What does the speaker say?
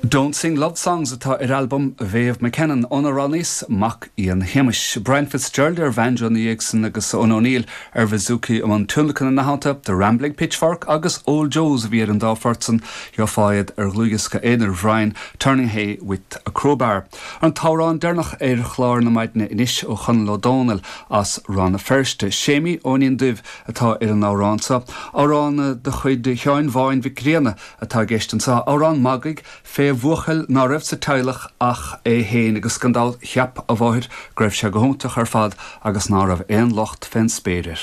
Don't Sing Love Songs atá ar albam Mhéabh McKennan ónar roghnaíos Mac Fhionn Shéamais. Brian Fitzgerald ar bhanjo ina dhiaidh san agus Eoin O'Neill ar bhouzouki i mbun tionlacain ina theannta, The Rambling Pitchfork agus Old Joes a bhí ar an dá phort san, gheofá iad ar dhlúthdhiosca aonair Bhrian, Turning Hay with a Crowbar. An t-amhrán deireanach ar chlár na maidine anois ó Chonall Ó Domhnaill as Rann na Feirste, Séimí Eoinín Duibh atá ar an amhrán seo, amhrán de chuid Sheáin Bháin Mhic Grianna atá i gceist anseo, amhrán magaidh fé bhuachaill ná raibh sa teaghlach ach é féin agus gan dabht cheap a mháthair go raibh sé go hiontach ar fad agus ná raibh aon locht fén spéir air.